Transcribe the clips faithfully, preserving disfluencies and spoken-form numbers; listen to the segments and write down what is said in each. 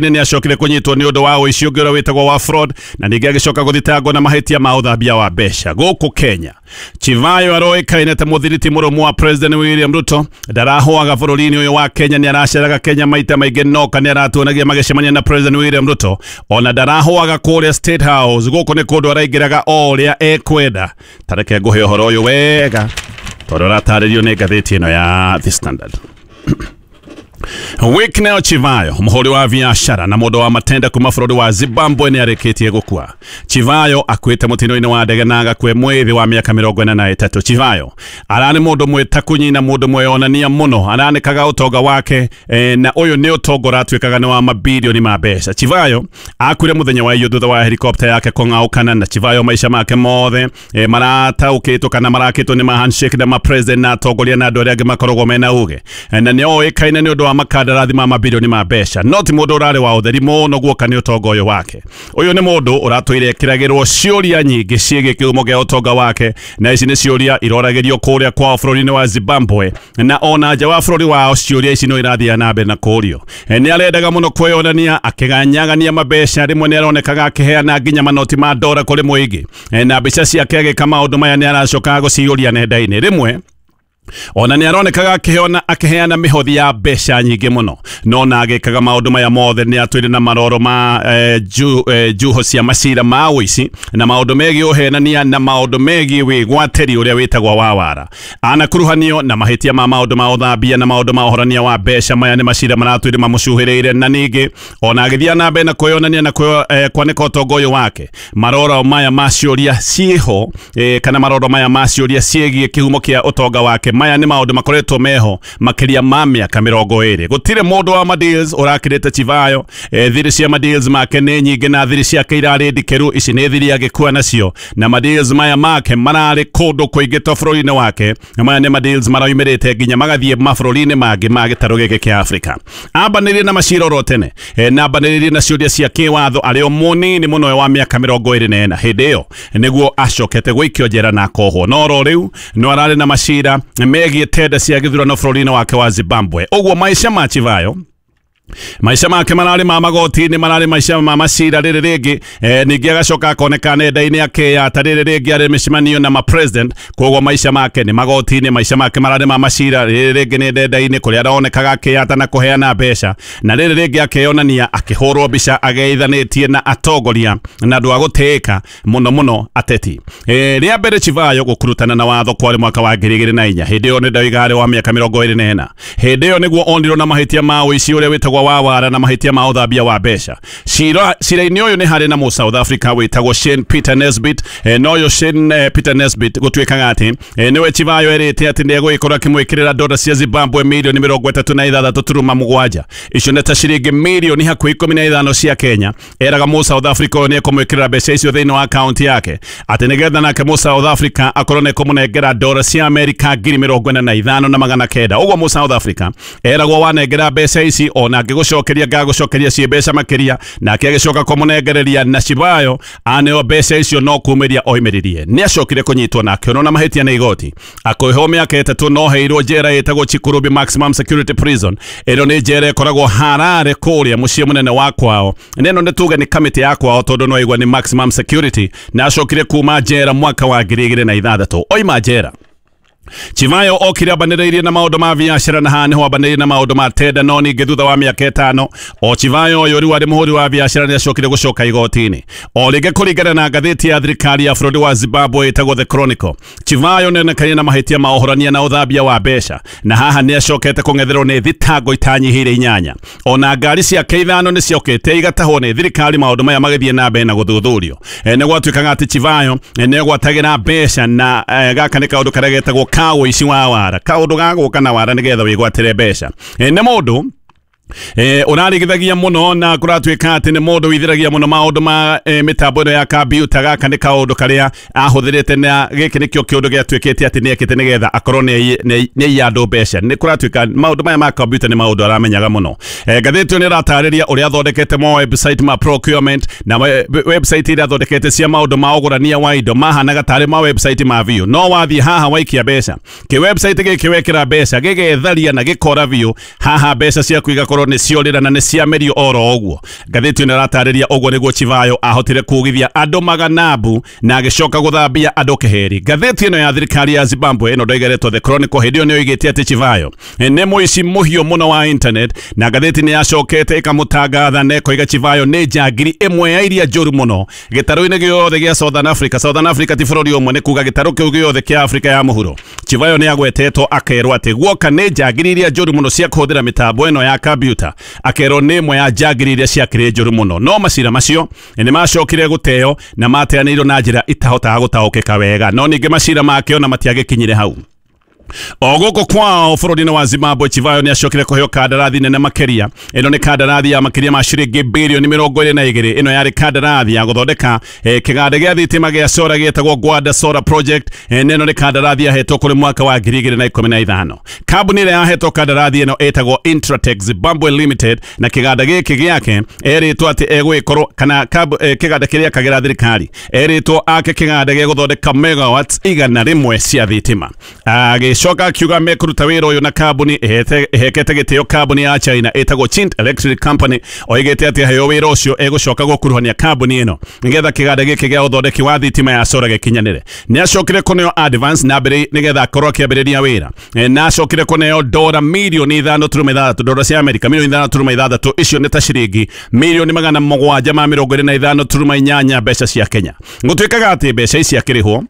Nĩ acokire kũnyitwo nĩ ũndũ wa ũici ũngĩ ũrĩa wĩtagwo wa fraud, na ningĩ agĩcoka gũthitangwo na mahĩtia ma ũthambia wa mbeca gũkũ Kenya. Chivayo aroĩkaine ta mũthiriti mũrũmu wa President William Ruto. Ndarahũaga bũrũri-inĩ ũyũ wa Kenya, nĩ araceraga Kenya maita maingĩ, noka nĩ aratuonagia magĩcemania na President William Ruto. Ona ndarahũaga kũrĩa State House, gũkũ nĩ kũndũ araingĩraga o ũrĩa ekwenda. Tareke ngũhe ũhoro ũyũ wega tondũ ũratarĩrio nĩ ngathĩti ĩno ya The Standard. Wicknell Chivayo, mũhũri wa biacara na mũndũ wa matenda kuma bũrũri wa Zimbabwe, nĩ arĩkĩtie gũkua. Chivayo akuĩte mũtino-inĩ wa ndege na agakua mwĩthĩ wa mĩaka mĩrongo ĩna na ĩtatũ. Chivayo ararĩ mũndũ mwĩtakunyi na mũndũ mweyonania mũno, aranĩkaga ũtonga wake eh, na ũyũ nĩ ũtonga ũratuĩkaga nĩ wa mabilioni ma mbeca. Chivayo akuire mũthenya wa iyo thutha wa helicopter yake kũng'aũkana, na Chivayo maica make mothe eh, marataũkĩtwo kana marakĩtwo nĩ ma handshake na ma president na atongoria na andũ arĩa angĩ makoragwo mena uge, eh, na nĩ oĩkaine nĩ ũndũ wa makandarathi ma mabilioni ma mbeca. No ti mũndũ ũrarĩ wa ũtheri mũno guoka nĩ ũtonga ũyũ wake. Ũyũ nĩ mũndũ ũratũire ekĩragĩrwo ciũria nyingĩ ciĩgiĩ kĩhumo gĩa ũtonga wake, na ici nĩ ciũria iroragĩrio kũrĩa kwao bũrũri-inĩ wa Zimbabwe, na ona nja wa bũrũri wao ciũria ici no irathiĩ na mbere na kũũrio. Nĩ arendaga mũno kwĩyonania, akĩganyagania mabeca, rĩmwe nĩ aronekaga akĩheana nginya manoti ma ndora kũrĩ mũingĩ, na mbica ciake agĩka maũndũ maya nĩ aracokaga gũciyũria nenda-inĩ. Rĩmwe ona nĩ aronekaga akĩheana akĩheana mĩhothi ya mbeca nyingĩ mũno, no na agĩkaga maũndũ maya mothe nĩ atwĩre na maroro ma eh, ju, eh, juho cia macira ma ũici na maũndũ megiĩ ũhenania na maũndũ megiĩ wĩgwatĩri ũrĩa wĩtagwo wa wara. Anakuruhanio na mahĩtia ma maũndũ ma ũthambia na maũndũ ma ũhorania wa mbeca. Maya nĩ macira maratwĩre mamũcuhĩrĩire, na ningĩ ona agĩthiĩ na mbere na kwĩyonania na kwĩyo, eh, kwanĩka ũtonga ũyũ wake. Maroro maya ma ciũria ciĩho eh, kana maroro maya ma ciũria ciĩgiĩ kĩhumo kĩa ũtonga wake, maya nĩ maũndũ makoretwo meho makĩria ma mĩaka mĩrongo ĩrĩ. Gũtirĩ mũndũ wa madeals ũrakĩrĩte Chivayo. eh, thiri cia madeals make nĩ nyingĩ na thiri ciake irarĩ ndikĩru. Ici nĩ thiri agĩkua nacio, na madeals maya make mararĩ kũndũ kũingĩ to bũrũri-inĩ wake, na maya nĩ madeals maraumĩrĩte nginya magathiĩ mabũrũri-inĩ mangĩ ma gĩtarũ gĩkĩ kĩa Afrika. Ambanĩrie na macira oro tene, eh, na ambanĩrĩrie na ciũria cia kĩwatho arĩ o mũnini mũno wa mĩaka mĩrongo ĩrĩ na ĩna. Hĩndĩ ĩyo nĩguo acokete gũikio njera na akohwo, no oro rĩu no ararĩ na macira megiĩ tenda cia gĩthurano bũrũri-inĩ wake wa Zimbabwe. Ũguo maica ma Chivayo, maica make mararĩ ma magoti-inĩ, mararĩ maica ma macira rĩrĩ rĩngĩ, eh, ningĩ agacoka akoneka nenda-inĩ akĩyata rĩrĩ rĩngĩ arĩ mĩcemanio na ma president. Koguo maica make nĩ magoti-inĩ, maica make mararĩ ma macira rĩrĩ rĩngĩ nĩ nenda-inĩ kũrĩa aronekaga akĩyata na kũheana mbeca, na rĩrĩ rĩngĩ akĩonania akĩhũrwo mbica ageithanĩtie na atongoria na andũ a gũtĩĩka mũno mũno ateti. Eh, rĩa mbere Chivayo gũkurutana na watho kwarĩ mwaka wa ngiri igĩrĩ na inya. Hĩndĩ ĩyo nĩ ndauga arĩ wa mĩaka mĩrongo ĩrĩ na ĩna. Hĩndĩ ĩyo nĩguo onirwo na mahĩtia ma ũici ũrĩa wĩtagwo wa wara na mahĩtia ma ũthambia wa mbeca. Cira cira-inĩ ũyũ nĩ harĩ na mũ South Africa wĩtagwo Shane Peter Nesbitt. eh, no ũyũ Shane eh, Peter Nesbitt gũtuĩkaga atĩ eh, nĩwe Chivayo erĩte atĩ nĩ egũgĩkorwo akĩmwĩkĩrĩra dola cia Zimbabwe mirioni mĩrongo ĩtatũ na ithathatũ turuma mũgwanja, icio nĩ ta ciringi mirioni hakuhĩ ikũmi na ithano cia Kenya. Eraga mũ South Africa ũyũ nĩ ekũmwĩkĩrĩra mbeca icio thĩinĩ wa akaunti yake, atĩ nĩgetha nake mũ South Africa akorwo nĩ ekũmũnengera dola cia Amerika ngiri mĩrongo ĩna na ithano na magana kenda. Ũguo mũ South Africa eragwo wanengera mbeca ici ona angĩgũcokeria ngagũcokeria ciĩ mbeca makĩria, nake agĩcoka kũmũnengereria, na Chivayo aneo mbeca icio no kumĩria oimĩririe. Nĩ acokire kũnyitwo na akĩonwo na mahĩtia nĩ igoti, akĩohwo mĩaka ĩtatũ, no heirwo njera ĩtagwo Chikurubi Maximum Security Prison. Ĩno nĩ njera ĩkoragwo Harare kũrĩa mũciĩ mũnene wa kwao, na ĩno nĩ tuge nĩ kamĩtĩ ya kwao tondũ no aigua nĩ maximum security. Na acokire kuma njera mwaka wa ngiri igĩrĩ na ithathatũ. Oima njera Chivayo okire ambanĩrĩirie na maũndũ ma biacara, na haha nĩho ambanĩrĩirie na maũndũ ma tenda. No ningĩ thutha wa mĩaka ĩtano o Chivayo ũyũ rĩu arĩ mũhũri wa biacara nĩ acokire gũcoka igoti-inĩ o rĩngĩ. Kũringana na ngathĩti ya thirikari ya bũrũri wa Zimbabwe ĩtagwo The Chronicle, Chivayo nĩonekanire na mahĩtia ma ũhorania na ũthambia wa mbeca, na haha nĩ acokete kũng'etherwo nĩ thitango itanyihĩire inyanya. Ona ngari ciake ithano nĩ ciokĩte igatahwo nĩ thirikari, maũndũ maya magĩthiĩ na mbere na gũthuthurio. E, nĩ gwatuĩkaga atĩ Chivayo nĩ egwatagĩra mbeca, na e, gaka nĩ kaũndũ karĩa getagwo ka ũici wa wara, kaũndũ ga gũka na wara nĩgetha wĩgwatĩre mbeca. E, nĩ mũndũ Eh, ũrarigithagia mũno na kũratuĩka atĩ nĩ mũndũ withiragia mũno maũndũ ma eh, mĩtambo ĩno ya kambiuta. Gaka nĩ kaũndũ karĩa ahũthĩrĩte, na gĩkĩ nĩkĩo kĩũndũ gĩatuĩkĩte atĩ nĩ ekĩte nĩgetha akorwo nĩ aiya andũ mbeca. Nĩ kũratuĩka maũndũ maya ma kambiuta nĩ maũndũ aramenyaga mũno. eh, ngathĩti ĩyo nĩ ĩratarĩria ũrĩa athondekete ma website ma procurement na website iria athondekete cia maũndũ ma ũgũrania wa indo mahanaga tarĩ ma website ma biũ, no wathiĩ haha waikia mbeca kĩ website gĩkĩ wekĩra mbeca gĩgetharia na gĩkora biũ, haha mbeca ciaku igakorwo ciakorwo nĩ ciorĩra na nĩ ciamerio oro ũguo. Ngathĩti ĩno ĩratarĩria ũguo nĩguo Chivayo ahotire kugithia andũ maganabu na agĩcoka gũthambia andũ keheri. Ngathĩti ĩno ya thirikari ya Zimbabwe ĩno ndoigeretwo The Chronicle hĩndĩ ĩyo nĩ yoigĩte atĩ Chivayo nĩ mũici mũhiũ mũno wa internet, na ngathĩti nĩ yacokete ĩkamũtangatha na ĩkoiga Chivayo nĩ njangiri ĩmwe ya iria njũru mũno gĩtarũ-inĩ gĩothe gĩa Southern Africa. Southern Africa ti bũrũri ũmwe, nĩ kuga gĩtarũ kĩu gĩothe kĩa Afrika ya mũhuro. Chivayo nĩ agwetetwo akerwo atĩ guoka nĩ njangiri iria njũru mũno cia kũhũthĩra mĩtambo ĩno ya kompiuta, akerwo nĩ ĩmwe ya njangiri iria ciakĩrĩ njũru mũno. No macira macio nĩ macokire gũteo na mateanĩirwo na njĩra itahotaga gũtaũkĩka wega, no ningĩ macira make ona matiagĩkinyire hau. O gũkũ kwao bũrũri-inĩ wa Zimbabwe, Chivayo nĩ acokire kũheo kandarathi nene makĩria. Ĩno nĩ kandarathi ya makĩria ma ciringi birioni mĩrongo ĩrĩ na igĩrĩ. Ĩno yarĩ kandarathi ya gũthondeka eh, kĩganda gĩa thitima gĩa solar gĩtagwo Gwanda Solar Project. eh, na ĩno nĩ kandarathi yahetwo kũrĩ mwaka wa ngiri igĩrĩ na ikũmi na ithano. Kambuni ĩrĩa yahetwo kandarathi ĩno ĩtagwo Intratec Zimbabwe Limited, na kĩganda gĩkĩ gĩake erĩtwo atĩ egũgĩkorwo kana kambu, eh, kĩganda kĩrĩa akagĩra thirikari erĩtwo ake kĩganda gĩa gũthondeka megawatts igana rĩmwe cia thitima. Agĩcoka akiuga mekũruta wĩra ũyũ na kambuni ĩhekete gĩtĩo kambuni ya China ĩtagwo Chint Electric Company. Oigĩte atĩ aheo wĩra ũcio egũcoka gũkuruhania kambuni ĩno nĩgetha kĩganda gĩkĩ gĩa ũthondeki wa thitima ya solar gĩkinyanĩre. Nĩ acokire kũneo advance na mbere nĩgetha akorwo akĩambĩrĩria wĩra, na acokire kũneo dora mirioni ithano turuma ithathatũ, dora cia Amerika mirioni ithano turuma ithathatũ, icio nĩ ta ciringi mirioni magana mũgwanja ma mĩrongo ĩrĩ na ithano turuma inyanya mbeca cia Kenya. Gũtuĩkaga atĩ mbeca ici akĩrĩhwo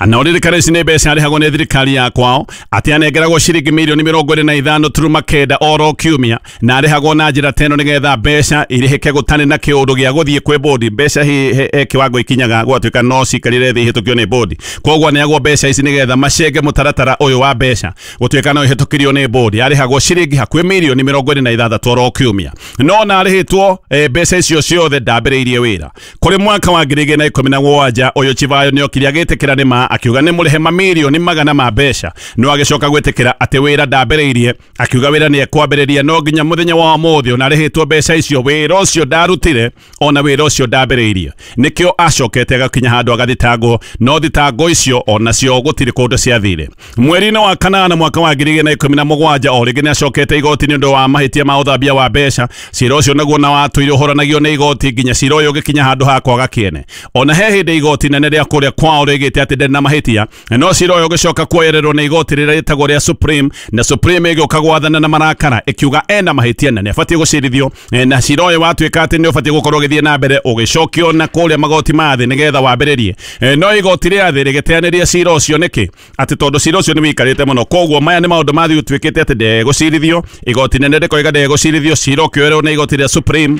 na ũririkane ici nĩ mbeca arĩhagwo nĩ thirikari ya kwao, atĩ anengeragwo ciringi mirioni mĩrongo ĩrĩ na ithano turuma kenda oro kiumia, na arĩhagwo na njĩra teno nĩgetha mbeca irĩhĩke gũtarĩ na kĩũndũ gĩa gũthiĩ kwĩ bodi. Mbeca he kĩwango ikinyaga gwatuĩka no cikarire thĩ ihĩtũkio nĩ bodi, koguo aneagwo mbeca ici nĩgetha macenge mũtaratara ũyũ wa mbeca gũtuĩka no ihĩtũkirio nĩ bodi. Arĩhagwo ciringi hakuhĩ mirioni mĩrongo ĩrĩ na ithathatũ oro kiumia, no na arĩhĩtwo mbeca icio ciothe ndambĩrĩirie wĩra. Kũrĩ mwaka wa ngiri igĩrĩ na ikũmi na mũgwanja ũyũ Chivayo nĩokire agĩtĩkĩra ma akiuga nĩ mũrĩhe mamirioni magana ma mbeca, no agĩcoka gwĩtĩkĩra atĩ wĩra ndambĩrĩirie, akiuga wĩra nĩ ekwambĩrĩria no nginya mũthenya wa ũmũthĩ ona arĩhĩtwo mbeca icio wĩra ũcio ndarutire ona wĩra ũcio ndambĩrĩirie. Nĩkĩo acokete agakinya handũ agathitangwo, no thitango icio onacio gũtirĩ kũndũ ciathire. Mweri-inĩ wa kanana mwaka wa ngiri igĩrĩ na ikũmi na mũgwanja o rĩngĩ nĩ acokete igoti nĩ ũndũ wa mahĩtia ma ũthambia wa mbeca. Cira ũcio naguo na watũire ũhoranagio nĩ igoti nginya cira ũyũ ũgĩkinya handũ ha kwaga kĩene. Ona he hĩndĩ igoti nene rĩa kũrĩa kwao rĩgĩte atĩ na mahĩtia, no cira ũyũ ũgĩcoka kuoyererwo nĩ igoti rĩrĩa rĩtagwo rĩa Supreme, na Supreme ĩgĩũka gwathana na marakara ĩkiuga ena mahĩtia na nĩ abatiĩ gũcirithio, na cira ũyũ watuĩka atĩ nĩ ũbatiĩ gũkorwo ũgĩthiĩ na mbere ũgĩcokio na kũrĩa magoti ma thĩ nĩgetha wambĩrĩrie. No igoti rĩa thĩ rĩgĩteanĩria cira ũcio nĩkĩ? Atĩ tondũ cira ũcio nĩ wĩikarĩte mũno, koguo maya nĩ maũndũ mathiĩ ũtuĩkĩte atĩ ndegũcirithio. Igoti nene rĩkoiga ndegũcirithio, cira ũkĩoerwo nĩ igoti rĩa Supreme.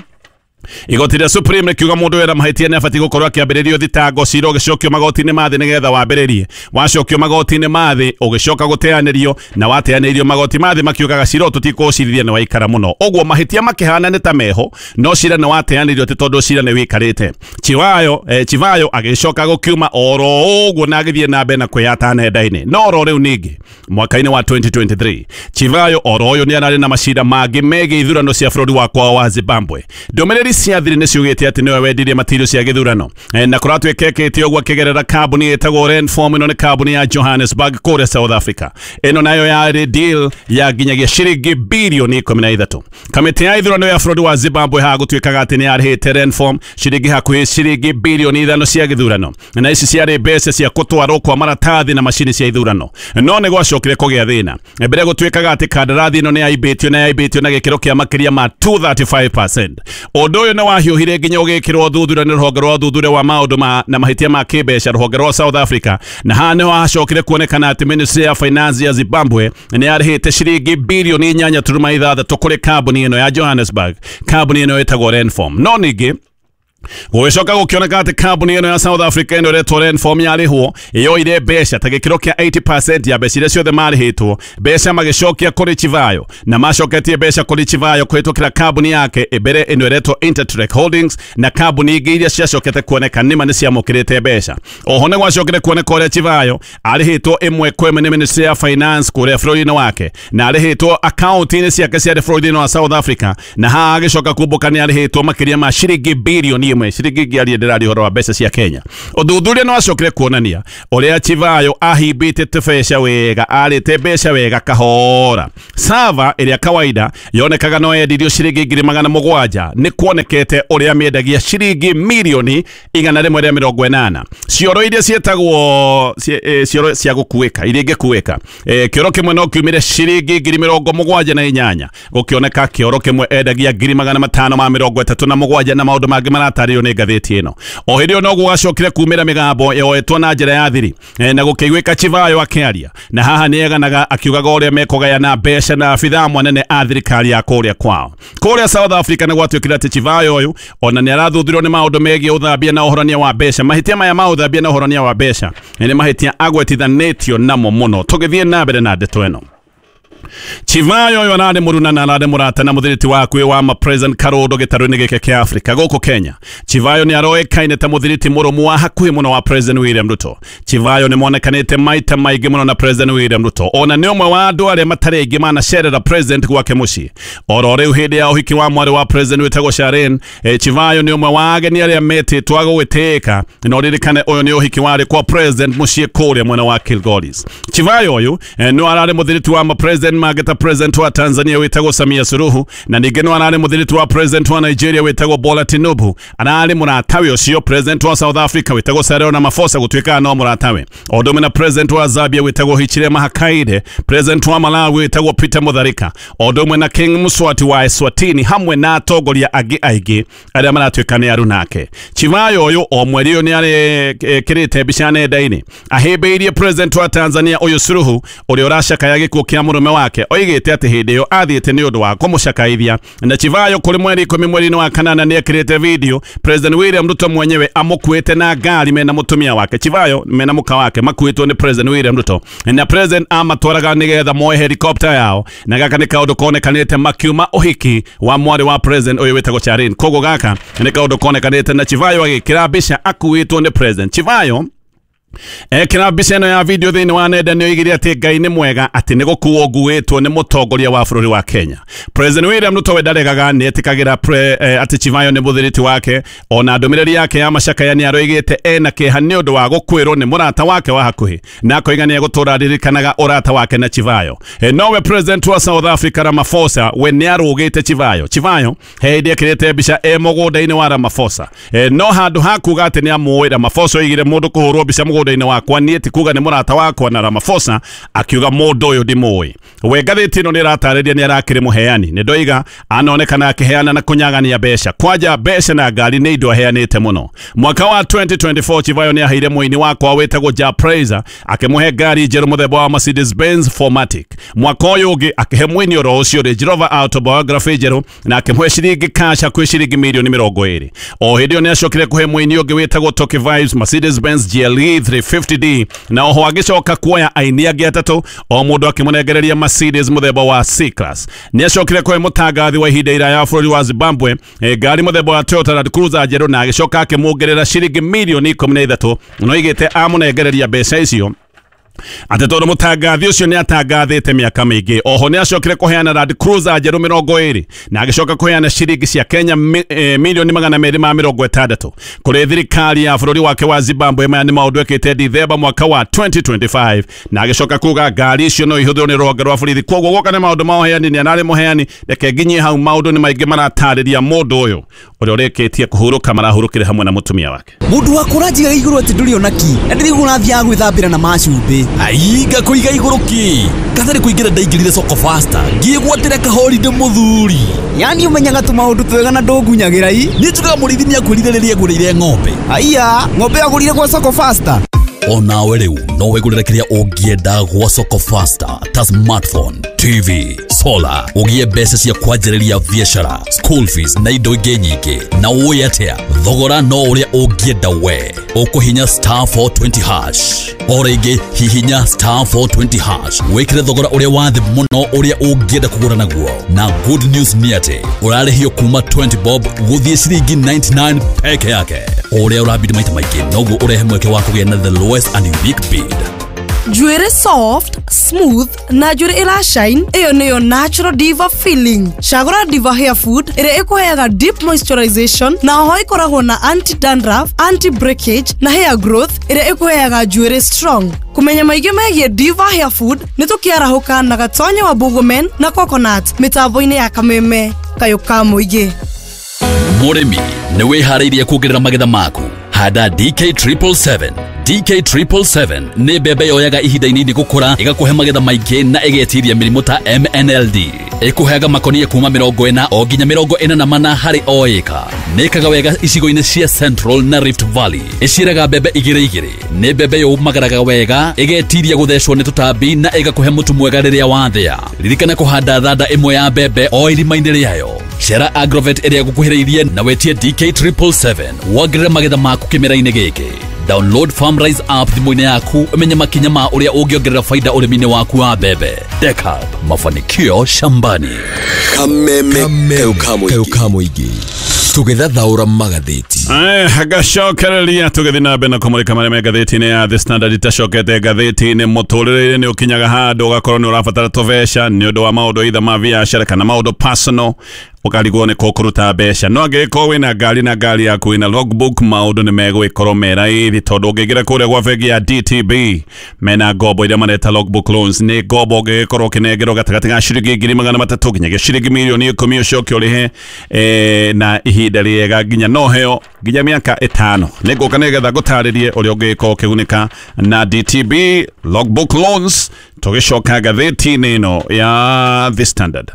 Igoti rĩa Supreme rĩkiuga mũndũ wĩra mahĩtia nĩ abatiĩ gũkorwo akĩambĩrĩrio thitango, cira ũgĩcokio magoti-inĩ ma thĩ nĩgetha wambĩrĩrie. Wacokio magoti-inĩ ma thĩ ũgĩcoka gũteanĩrio, na wateanĩirio magoti ma thĩ makiugaga cira ũyũ tũtikũũcirithia nĩ waikara mũno. Ũguo mahĩtia makĩhana nĩ ta meho, no cira nĩ wateanĩirio atĩ tondũ cira nĩ wĩikarĩte. Chivayo eh, Chivayo agĩcoka gũkiuma oro ũguo na agĩthiĩ na mbere na kwĩyata nenda-inĩ. No oro rĩu ningĩ mwaka-inĩ wa twenty twenty-three Chivayo oro ũyũ nĩ ararĩ na macira mangĩ megiĩ ithurano cia bũrũri wa kwao wa Zimbabwe. Ndũmĩrĩri cia thiri nĩ ciugĩte atĩ nĩwe wendirie matirio cia gĩthurano, na kũratuĩka ekĩte ũguo akĩgerera kambuni ĩtagwo Renform. Ĩno nĩ kambuni ya Johannesburg kũrĩa South Africa. Ĩno nayo yarĩ deal ya nginyagia ciringi birioni ikũmi na ithatũ. Kamĩtĩ ya ithurano ya bũrũri wa Zimbabwe haha gũtuĩkaga atĩ nĩ yarĩhĩte Renform ciringi hakuhĩ ciringi birioni ithano cia gĩthurano, na ici ciarĩ mbeca cia gũtwarwo kwa maratathi na macini cia ithurano. No nĩ gwacokire kũgĩa thĩna mbere gũtuĩkaga atĩ kandarathi ĩno nĩ yaimbĩtio na yaimbĩtio na gĩkĩro kĩa makĩria ma two thirty-five percent. Ũndũ ũyũ nĩ wahiũhire nginya ũgĩkĩrwo thuthuria nĩ rũhonge rwa ũthuthuria wa maũndũ ma na mahĩtia ma kĩmbeca rũhonge rwa South Africa, na haha nĩho hacokire kuonekana atĩ Ministry ya Finance ya Zimbabwe nĩ yarĩhĩte ciringi birioni inyanya turuma ithathatũ kũrĩ kambuni ĩno ya Johannesburg, kambuni ĩno ĩtagwo Renform. No ningĩ gũgĩcoka gũkĩoneka atĩ kambuni ĩno ya South Africa ĩno ĩretwo Renform yarĩhwo yoire mbeca ta gĩkĩro kĩa eighty percent ya mbeca iria ciothe marĩhĩtwo, mbeca magĩcokia kũrĩ Chivayo, na macoketie mbeca kũrĩ Chivayo kũhĩtũkĩra kambuni yake mbere ĩno ĩretwo Intertrek Holdings na kambuni ingĩ iria ciacokete kuoneka nĩma nĩ ciamũkĩrĩte mbeca. Oho nĩ gwacokire kuoneka ũrĩa Chivayo arĩhĩtwo ĩmwe kwa ĩmwe nĩ Ministry ya Finance kũrĩa bũrũri-inĩ wake, na arĩhĩtwo akaunti-inĩ ciake ciarĩ bũrũri-inĩ wa South Africa, na haha agĩcoka kumbũka nĩ arĩhĩtwo makĩria ma ciringi birioni ĩmwe ciringi ngĩaria ndĩraria ũhoro wa mbeca cia Kenya. Ũthuthuria nĩ wacokire kuonania ũrĩa Chivayo ahimbĩte tũbeca wega, arĩte mbeca wega kahora. Sava ĩrĩa kawaida yonekaga no yendirio ciringi ngiri magana mũgwanja nĩ kuonekete ũrĩa mĩendagia ciringi mirioni igana rĩmwe rĩa mĩrongo ĩnana. Cioro iria ciĩtagwo cioro cia gũkuĩka iria ingĩkuĩka, kĩoro kĩmwe no kiumĩre ciringi ngiri mĩrongo mũgwanja na inyanya, gũkĩoneka kĩoro kĩmwe endagia ngiri magana matano ma mĩrongo ĩtatũ na mũgwanja, na maũndũ mangĩ maratarĩrio nĩ ngathĩti ĩno. O hĩndĩ ĩyo no gũgacokire kumĩra mĩgambo yoetwo na njĩra ya thiri na gũkĩiguĩka Chivayo akĩaria, na haha nĩ eganaga akiugaga ũrĩa mekũgayana mbeca na abithaa mwanene a thirikari ya kũrĩa kwao. Kũrĩa South Africa nĩ gwatuĩkire atĩ Chivayo ũyũ ona nĩ arathuthurio nĩ maũndũ megiĩ ũthambia na ũhorania wa mbeca. Mahĩtia maya ma ũthambia na ũhorania wa mbeca nĩ mahĩtia agwetithanĩtio namo mũno. Tũgĩthiĩ na mbere na ndeto ĩno, Chivayo ũyũ ararĩ mũruna na ararĩ mũrata na mũthiriti wakuĩ wa ma President Karondo gĩtarũ-inĩ gĩkĩ kĩa Afrika gũkũ Kenya. Chivayo nĩ aroĩkaine ta mũthiriti mũrũmu wa hakuhĩ mũno wa President William Ruto. Chivayo nĩ monekanĩte maita maingĩ mũno na President William Ruto, ona nĩ ũmwe wa andũ arĩa matarĩ aingĩ manacerera President gwake mũciĩ. Oro rĩu hĩndĩ ya ũhiki wa mwarĩ wa President wĩtagwo Sharon, eh, Chivayo nĩ ũmwe wa ageni arĩa metĩtwo agũgĩtĩĩka, na ũririkane ũyũ nĩ ũhiki warĩ kwa President mũciĩ kũrĩa mwena wa Kilgoris. Chivayo ũyũ eh, nĩ ararĩ mũthiriti wa ma President mageta President wa Tanzania wĩtagwo Samia Suluhu, na ningĩ no ararĩ mũthiriti wa President wa Nigeria wĩtagwo Bola Tinubu. Ararĩ mũratawe ũcio President wa South Africa wĩtagwo Cyril Ramaphosa, gũtuĩkaga no mũratawe. O ũndũ ũmwe na President wa Zambia wĩtagwo Hichilema Hakainde, President wa Malawi wĩtagwo Peter Mutharika, o ũndũ ũmwe na King Mswati wa Eswatini, hamwe na atongoria angĩ aingĩ arĩa maratuĩka nĩ arunake. Chivayo ũyũ o mweri ũyũ nĩ arekĩrĩte mbica nenda-inĩ ahĩmbĩirie President wa Tanzania ũyũ Suluhu, ũrĩa ũracakaya gĩkuũ kĩa mũrũme wake. Oigĩte atĩ hĩndĩ ĩyo athiĩte nĩ ũndũ wa kũmũcakaithia. Na Chivayo kũrĩ mweri ikũmi mweri-inĩ wa kanana nĩ ekĩrĩte video President William Ruto mwenyewe amũkuĩte na ngari mena mũtumia wake. Chivayo mena mũka wake makuĩtwo nĩ President William Ruto, na President amatwaraga nĩgetha moe helicopter yao, na gaka nĩ kaũndũ konekanĩte makiuma ũhiki wa mwarĩ wa President ũyũ wĩtagwo Charin. Koguo gaka nĩ kaũndũ konekanĩte na Chivayo agĩkĩra mbica akuĩtwo nĩ President. Chivayo ekĩra mbica ĩno ya video thĩinĩ wa nenda nĩ oigire atĩ Ngai nĩ mwega, atĩ nĩ gũkuo nguĩtwo nĩ mũtongoria wa bũrũri wa Kenya. President William Ruto we ndaregaga, nĩ etĩkagĩra eh, atĩ Chivayo nĩ mũthiriti wake. Ona ndũmĩrĩri yake ya macakaya nĩ aroigĩte ena kĩeha nĩ ũndũ wa gũkuĩrwo nĩ mũrata wake wa hakuhĩ, na akoiga nĩ egũtũra aririkanaga ũrata wake na Chivayo. E, nowe President wa South Africa Ramaphosa we nĩ arũgĩte Chivayo. Chivayo hĩndĩ ekĩrĩte mbica e mũgũnda-inĩ wa Ramaphosa, e, no handũ ha kuga atĩ nĩ amũĩ, Ramaphosa oigire mũndũ kũhũrwo mbica mũgũnda-inĩ wakwa niĩ ti kuga nĩ mũrata wakwa, na Ramaphosa akiuga mũndũ ũyũ ndimũĩ. We ngathĩti ĩno nĩ ĩratarĩria nĩ arakĩrĩ mũheani, nĩ ndoiga anonekana akĩheana na kũnyagania mbeca, kwanja mbeca na ngari nĩ indo aheanĩte mũno. Mwaka wa twenty twenty-four Chivayo nĩ aheire mũini wakwa wĩtagwo Ja Praiser akĩmũhe ngari njerũ mũthemba wa Mercedes Benz four matic. Mwaka ũyũ ũngĩ akĩhe mũini oro ũcio Range Rover Autobiography njerũ na akĩmũhe ciringi cash hakuhĩ ciringi mirioni mĩrongo ĩrĩ. O hĩndĩ ĩyo nĩ acokire kũhe mũini ũngĩ wĩtagwo Toki Vibes Mercedes Benz G L E three fifty D, na oho agĩcoka kuoya aini angĩ atatũ o mũndũ akĩmũnengereria Mercedes mũthemba wa C-Class. Nĩ acokire kũhe mũtangathi wa ihinda iraya wa bũrũri wa Zimbabwe e, ngari mũthemba wa Toyota Land Cruiser njerũ, na agĩcoka akĩmuongerera ciringi mirioni ikũmi na ithatũ, na oigĩte amũnengereria mbeca icio atĩ tondũ mũtangathi ũcio nĩ atangathĩte mĩaka mĩingĩ. Oho nĩ acokire kũheana Land Cruiser njerũ mĩrongo ĩrĩ, na agĩcoka kũheana ciringi cia Kenya mi, eh, milioni magana merĩ ma mĩrongo ĩtandatũ kũrĩ thirikari ya bũrũri wake wa Zimbabwe. Maya nĩ maũndũ ekĩte Dithemba mwaka wa twenty twenty-five, na agĩcoka kuga ngari icio no ihũthĩrwo nĩ rũhonge rwa borithi. Koguo guoka nĩ maũndũ ma ũheani, nĩ ararĩ mũheani. Reke nginyie hau, maũndũ nĩ maingĩ maratarĩria mũndũ ũyũ ũrĩa ũrĩkĩtie kũhurũka marahurũkire hamwe na mũtumia wake. Mũndũ wa kũranjiga igũrũ atĩ ndũrĩ ona ki, na ndĩrĩguo ũrathiaga gwĩthambĩra na macumbĩ. Aiga kũiga igũrũ ki kathari kũingĩra ndaingĩrire soko faster ngĩgwatĩra kahoride mũthuri. Yani ũmenyaga tũmaũndũ twega na ndũngunyagĩra i. Niĩ njugaga mũrĩithi nĩakwĩrire rĩrĩa agũrĩire ng'ombe. Aiya, ng'ombe agũrire gwa soko faster. Onawe rĩu no wĩgũrĩre kĩrĩa ũngĩenda gwa soko faster ta smartphone, T V, solar, ũgĩe mbeca cia kwanjĩrĩria biacara, school fees na indo ingĩ nyingĩ. Na ũĩ atĩa, thogora no ũrĩa ũngĩenda we. Ũkũhinya star four twenty hash. O rĩngĩ hihinya star four twenty hash wĩkĩre thogora ũrĩa wa thĩ mũno ũrĩa ũngĩenda kũgũra naguo. Na good news nĩ atĩ ũrarĩhio kuma twenty bob gũthiĩ ciringi ninety-nine peke yake. O ũrĩa ũrabidi maita maingĩ noguo ũrehe mweke wa kũgĩa na the lowest and unique bid. Njuĩrĩ soft, smooth na njuĩrĩ ĩra shine, ĩyo nĩyo natural diva feeling. Cagũra Diva Hair Food ĩrĩa ĩkũheaga deep moisturization na oho ĩkoragwo na anti dandruff, anti breakage na hair growth ĩrĩa ĩkũheaga njuĩrĩ strong. Kũmenya maingĩ megiĩ Diva Hair Food nĩ tũkĩarahũka na Gatonye wa Bũgũmen na Coconut mĩtambo-inĩ ya Kameme kayũ ka mũingĩ. Mũrĩmi nĩ wĩharĩirie kuongerera magetha maku. Handa D K triple seven. D K triple seven nĩ mbembe yoyaga ihinda inini gũkũra, ĩgakũhe magetha maingĩ na ĩgetiria mĩrimũ ta M N L D. Ĩkũheaga makonia kuma mĩrongo ĩna o nginya mĩrongo ĩna na mana harĩ o ĩka. Nĩĩkaga wega icigo-inĩ cia Central na Rift Valley. Ĩciaraga mbembe igĩrĩ igĩrĩ. Nĩ mbembe yũmagaraga wega, ĩgetiria gũthecwo nĩ tũtambi na ĩgakũhe mũtu mwega rĩrĩa wathĩa. Ririkana kũhanda thanda ĩmwe ya mbembe o irima-inĩ rĩayo. Cera Agrovet ĩrĩa gũkuhĩrĩirie na wetie D K triple seven wongerere magetha maku kĩmera-inĩ gĩkĩ. Download FarmRise app thimũ-inĩ yaku ũmenye makinya ma ũrĩa ũngĩongerera faida ũrĩmi-inĩ waku wa mbembe. Dekab, mafanikio shambani. Kameme kayũ ka mũingĩ tũgĩthathaũra magathĩti. Eh, gacokereria tũgĩthiĩ na mbere na kũmũrĩka marĩa me ngathĩti-inĩ ya The Standard. Itacokete ngathĩti-inĩ, mũtũrĩre-inĩ nĩ ũkinyaga handũ ũgakorwo nĩ ũrabatara tũbeca nĩ ũndũ wa maũndũ either ma biacara kana maũndũ personal, ũkarigwo nĩ kũ kũruta mbeca. No angĩgĩkorwo wĩna ngari na ngari yaku ĩna logbook, maũndũ nĩ megũgĩkorwo me raithi tondũ ũngĩingĩra kũrĩa gwa bengi ya D T B mena ngombo iria mareta logbook loans. Nĩ ngombo ũngĩgĩkorwo ũkĩnengerwo gatagatĩ ga ciringi ngiri magana matatũ nginyagia ciringi mirioni ikũmi ũcoke ũrĩhe eh, na ihinda rĩega nginya no heo nginya mĩaka ĩtano. Nĩ ngũka nĩgetha ngũtarĩrie ũrĩa ũngĩgĩkorwo ũkĩgunĩka na D T B logbook loans tũgĩcoka ngathĩti-inĩ ĩno ya The Standard.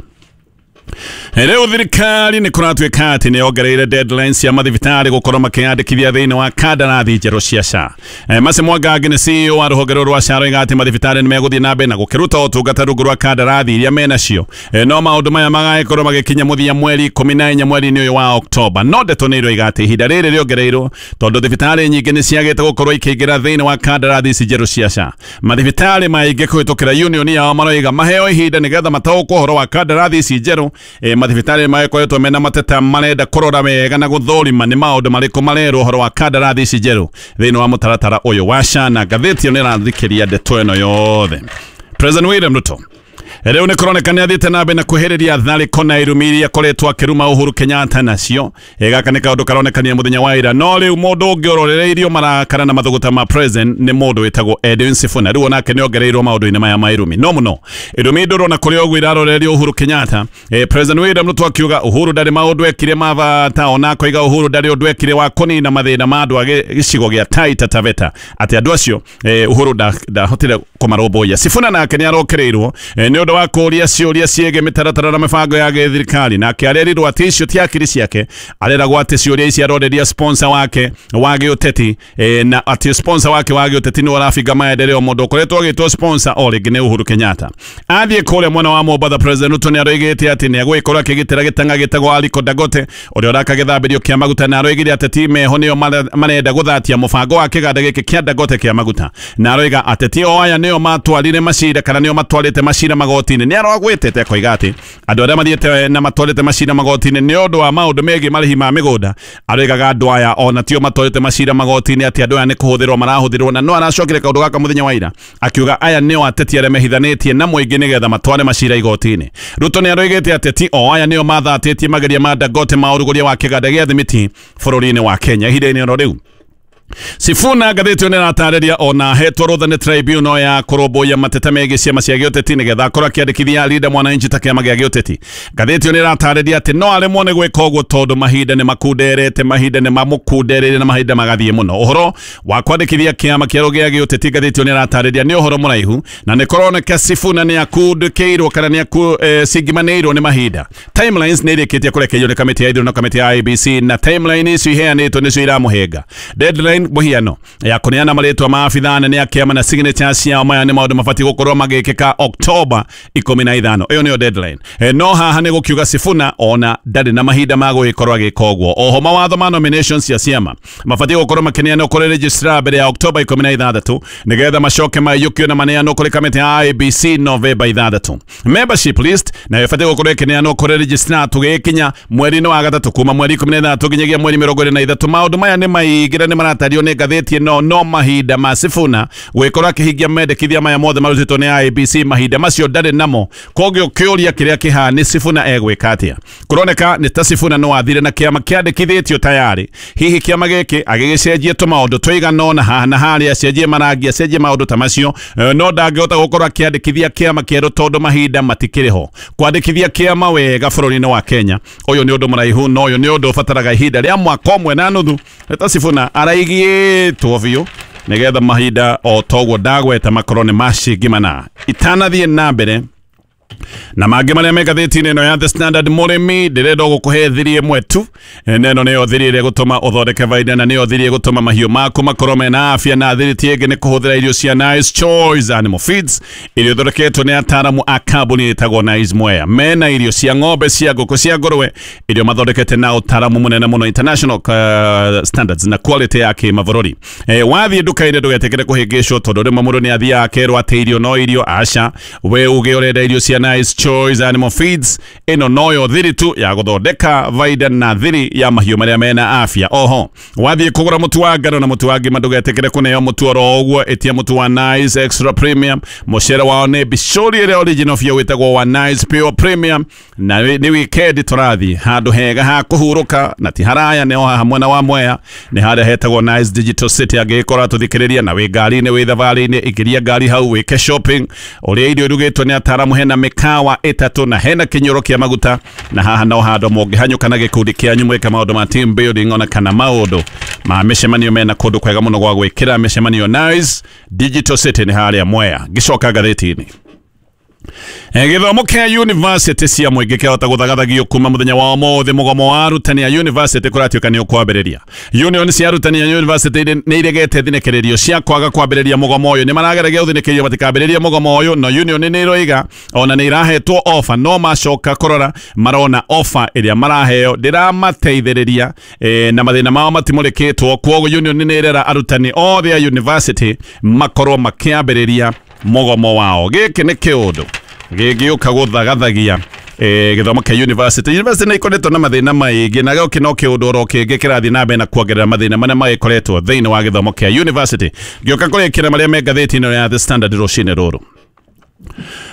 Rĩu thirikari nĩ kũratuĩka atĩ nĩ yongereire deadlines cia mathibitarĩ gũkorwo makĩyandĩkithia thĩinĩ wa kandarathi njerũ cia S H A. Mercy Mwangangi nĩ C E O wa rũhonge rũrũ rwa S H A aroiga atĩ mathibitarĩ nĩ megũthiĩ na mbere na gũkĩruta ũtungata rungu rwa kandarathi iria menacio. No maũndũ maya magagĩkorwo magĩkinya mũthia mweri ikũmi na inya mweri-inĩ ũyũ wa Oktoba. No ndeto nĩ iroiga atĩ ihinda rĩrĩ rĩongereirwo tondũ thibitarĩ nyingĩ nĩ ciagĩte gũkorwo ikĩingĩra thĩinĩ wa kandarathi ici njerũ cia S H A. Mathibitarĩ maingĩ kũhĩtũkĩra union yao maroiga maheo ihinda nĩgetha mataũkwo ũhoro wa kandarathi ici njerũ. E, mathibitarĩ makoretwo mena mateta marenda kũrora wega na gũthũrima nĩ maũndũ marĩkũ marerwo ũhoro wa kandarathi ici njerũ thĩinĩ wa mũtaratara ũyũ wa S H A. Na ngathĩti ĩyo nĩ ĩrathikĩria ndeto ĩno yothe. President William Ruto rĩu nĩ kũroneka nĩ athiĩte na mbere na kwĩhĩrĩria tharĩko na irumi iria akoretwo akĩruma Uhuru Kenyatta nacio. Gaka nĩ kaũndũ karonekania mũthenya wa ira. No rĩu mũndũ ũngĩ ũrorereirio marakara na mathũgũta ma president nĩ mũndũ wĩtagwo Edwin Sifuna. Rĩu onake nĩ ongereirwo maũndũ-inĩ maya ma irumi. No mũno irumi ndũrona kũrĩa ũguo irarorerio Uhuru Kenyatta. E, President William Ruto akiuga Uhuru ndarĩ maũndũ ekire ma bata, ona akoiga Uhuru ndarĩ ũndũ ekire wa kũnina mathĩna ma andũ a gĩcigo gĩa Taita Taveta, atĩ andũ acio e, Uhuru ndahotire kũmarũmbũiya. Sifuna nake nĩ arokereirwo e, nĩ ũndũ wa kũũria ciũria ciĩgiĩ mĩtaratara na mĩbango ya gĩthirikari. Nake arerirwo atĩ icio ti akiri ciake, areragwo atĩ ciũria ici aroreria sponsor wake wa gĩũteti, e, na atĩ sponsor wake wa gĩũteti nĩ ũrabinga maendeleo. Mũndũ ũkoretwo agĩtwo sponsor o rĩngĩ nĩ Uhuru Kenyatta. Athiĩ kũrĩa mwena wa Mombatha, President Ruto nĩ aroigĩte atĩ nĩ egũgĩkorwo akĩgitĩra gĩtang'a gĩtagwo Aliko Dangote ũrĩa ũraka gĩthambĩrio kĩa maguta, na aroigire ateti meho nĩo marenda gũthatia mũbango wa kĩganda gĩkĩ kĩa Dangote kĩa maguta, na aroiga ateti o aya nĩo matwarire macira kana nĩo matwarĩte macira magoti-inĩ. Nĩ arogwĩtĩte akoiga atĩ andũ arĩa mathiĩte na matwarĩte macira magoti-inĩ nĩ ũndũ wa maũndũ megiĩ marĩhi ma mĩgũnda, aroigaga andũ aya ona tio matwarĩte macira magoti-inĩ atĩ andũ aya nĩ kũhũthĩrwo marahũthĩrwo. Na no aracokire kaũndũ gaka mũthenya wa ira akiuga aya nĩo ateti arĩa mehithanĩtie na mũingĩ nĩgetha matware macira igoti-inĩ. Ruto nĩ aroigĩte ateti o aya nĩo mathatĩtie mageria ma Dangote ma ũrugũria wa kĩganda gĩa thimiti bũrũri-inĩ wa Kenya ihinda-inĩ oro rĩu. Sifuna ngathĩti ĩyo nĩratarĩria ona ahetwo rũtha nĩ tribunal ya kũrũmbũiya mateta megiĩ ciama cia gĩũteti nĩgetha akorwo akĩandĩkithia Linda Mwananchi ta kĩama gĩa gĩũteti. Ngathĩti ĩyo nĩratarĩria atĩ no aremwo nĩ gwĩka ũguo tondũ mahinda nĩ makunderete, mahinda nĩ mamũkundereire na mahinda magathiĩ mũno. Ũhoro wa kwandĩkithia kĩama kĩerũ gĩa gĩũteti ngathĩti ĩyo nĩratarĩria nĩ ũhoro mũraihu na nĩ kũroneka Sifuna nĩ akundĩkĩirwo kana nĩ acingimanĩirwo nĩ mahinda. Timelines nĩ irĩkĩtie kũrekererio nĩ kamĩtĩ ya ithurano, kamĩtĩ ya I B C, na timeline icio iheanĩtwo nĩcio iramũhĩnga. Deadline mũhiano ya kũneana marĩtwa ma abithaa anene a kĩama na signature ciao, maya nĩ maũndũ mabatiĩ gũkorwo magĩkĩka Oktoba ikũmi na ithano. Ĩyo nĩyo deadline. E, no haha nĩ gũkiuga Sifuna ona ndarĩ na mahinda ma gũgĩkorwo agĩka ũguo. Oho mawatho ma nominations cia ciama mabatiĩ gũkorwo makĩneanwo kũrĩ registrar mbere ya Oktoba ikũmi na ithathatũ nĩgetha macoke maiyũkio na maneanwo kũrĩ kamĩtĩ ya I B C Novemba ithathatũ. Membership list nayo ĩbatiĩ gũkorwo ĩkĩneanwo kũrĩ registrar tũgĩkinya mweri-inĩ wa gatatũ kuma mweri ikũmi na ithathatũ nginyagia mweri mĩrongo ĩrĩ na ithatũ. Maũndũ maya nĩ maingĩ na nĩ maratario nĩ ngathĩti ĩno no mahinda ma Sifuna gwĩkorwo akĩhingia mendekithia maya mothe marutĩtwo nĩ I E B C mahinda macio ndarĩ namo. Kogio kĩũria kĩrĩa kĩha nĩ Sifuna egwĩka atĩa? Kũroneka nĩ ta Sifuna no athire na kĩama kĩandĩkithĩtio tayari. Hihi kĩama gĩkĩ agĩgĩcenjie tũmaũndũ tũigana ũna haha na harĩa, acenjie marangi, acenjie maũndũ ta macio, no ndangĩhota gũkorwo akĩandĩkithia kĩama kĩerũ tondũ mahinda matikĩrĩ ho. Kwandĩkithia kĩama wega bũrũri-inĩ wa Kenya ũyũ nĩ ũndũ mũraihu, no ũyũ nĩ ũndũ ũbataraga ihinda rĩa mwaka ũmwe na nuthu. Ta Sifuna araigĩtwo biũ nĩgetha mahinda o toguo ndagweta makorwo nĩ macingi mana. Itanathiĩ na mbere na mangĩ marĩa me ngathĩti-inĩ ĩno ya The Standard, mũrĩmi ndĩrenda gũkũhe thiri ĩmwe tu, na ĩno nĩyo thiri ĩrĩa ĩgũtũma ũthondeke baida, na nĩyo thiri ĩgũtũma mahiũ maku makorwo mena afya, na thiri ti ĩngĩ nĩ kũhũthĩra irio cia Nice Choice Animal Feeds iria ithondeketwo nĩ ataaramu a kambuni ĩtagwo Nice Mwea. Mena irio cia ng'ombe, cia ngũkũ, cia ngũrwe, irio mathondekete na ũtaaramu mũnene mũno, international uh, standards na quality ya kĩmabũrũri. E, wathiĩ nduka-inĩ ndũgetĩkĩre kũhĩngĩcwo tondũ rĩmwe mũndũ nĩ athiaga akerwo atĩ irio no irio. Aca, we uge ũrenda irio cia Nice Choice Animal Feeds, ĩno noyo thiri tu ya gũthondeka baida na thiri ya mahiũ marĩa mena afya. Oho wathiĩ kũgũra mũtu wa ngano na mũtu wa ngima ndũgetĩkĩre kũneo mũtu oro ũguo, ĩtia mũtu wa Nice Extra Premium. Mũcere wao nĩ bicũri ĩrĩa original biũ wĩtagwo wa Nice Pure Premium. Na nĩ weekend tũrathiĩ handũ hega ha kũhurũka na ti haraya, nĩ o haha mwena wa Mwea, nĩ harĩa hetagwo Nice Digital City. Angĩgĩkorwo atũthikĩrĩria na wĩ ngari-inĩ, wĩ thabarĩ-inĩ, ingĩria ngari hau wĩke shopping ũrĩa irio irugĩtwo nĩ ataaramu. Hena mĩkawa ĩtatũ na hena kĩnyũro kĩa maguta, na haha no handũ mũngĩhanyũka na gĩkundi kĩanyu mwĩke maũndũ ma team building ona kana maũndũ ma mĩcemanio. Mena kũndũ kwega mũno gwa gwĩkĩra mĩcemanio. Nice Digital City nĩ harĩa Mwea. Ngĩcoka ngathĩti-inĩ, gĩthomo kĩa university cia mũingĩ kĩahota gũthagathagio kuma mũthenya wa ũmũthĩ. Mũgomo wa arutani a university kũratuĩka nĩ ũkwambĩrĩria. Union cia arutani a university nĩ iregete thinĩkĩrĩrio cia kwaga kwambĩrĩria mũgomo ũyũ. Nĩ marageragia gũthinĩkĩrĩrio matikambĩrĩrie mũgomo ũyũ, no union nĩ iroiga ona nĩ irahetwo offer, no macoka kũrora marona offer ĩrĩa maraheo ndĩramateithĩrĩria, e, na mathĩna mao matimũrĩkĩtwo. Kwoguo union nĩ ĩrera arutani othe a university makorwo makĩambĩrĩria mũgomo wao. Gĩkĩ nĩ kĩũndũ gĩgĩũka gũthagathagia gĩthomo kĩa university. University nĩ ikoretwo na mathĩna maingĩ, na gĩũkĩ no kĩũndũ oro kĩngĩ kĩrathiĩ na mbere na kuongerera mathĩna marĩa magĩkoretwo thĩinĩ wa gĩthomo kĩa university. Ngĩũka kũrĩkĩra marĩa me ngathĩti-inĩ ya The Standard rũcinĩ rũrũ.